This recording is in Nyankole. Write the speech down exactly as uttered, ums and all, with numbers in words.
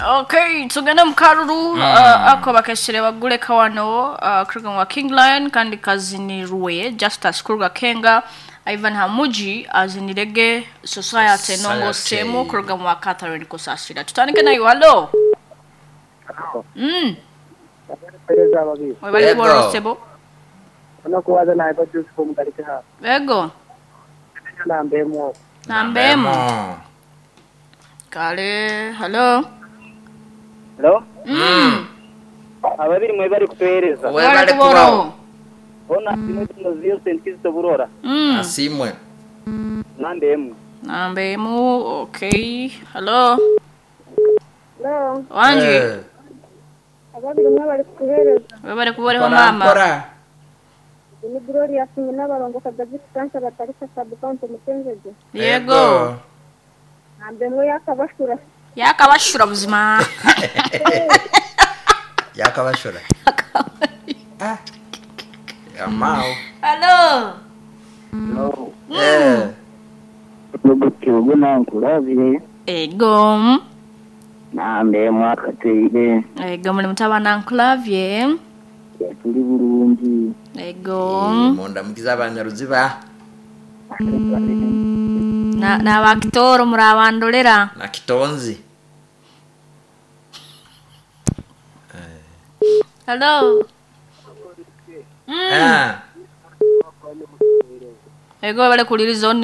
Okay, tugende mu karuru mm. uh, ako bakesere baguleka wano uh, kuruga wa King Lion kandi kazinirwe Justus kuruga Kenga Ivan Hamuji azinirege Society nongo semu kuruga wa Catherine Kusasira. Tutandike nayo hallo. Mm. Webale kuboro sebo. Onokuwaza naye bajusi kumutarike ha. Ego. Nambemo. Nambemo. Kale, hello. Hello? Mm. Ababiri mwe bari kutuhereza. Webale kuboro. Ona simwe tunoziyo Saint Kizito Burora. Mm. Asimwe. Nambemo. Nambemo, okay. Hello. Hello. Wanji. Eh. Ababiri mwe bari kutuhereza. Webale kuboreho mama. Mpora. Ni Gloria Sinyi n'abarongo Kadavi Kansa batarika sub county Mutenjeje. Yego. Nambemo yakabashura. Yakabashura buzima. Yakabashura. Ah. Yamao. Hello. Hello. Eh. Lugutugu nankulavye. Ego. Nambemo akateire. Ego muri mutabana nkulavye. Tuli bulungi. Ego. Munda mukiza abanyaruziba Na n'abakitoro murabandolera. na kitonzi. Hello. Mm. Ah. Ego bale kuliriza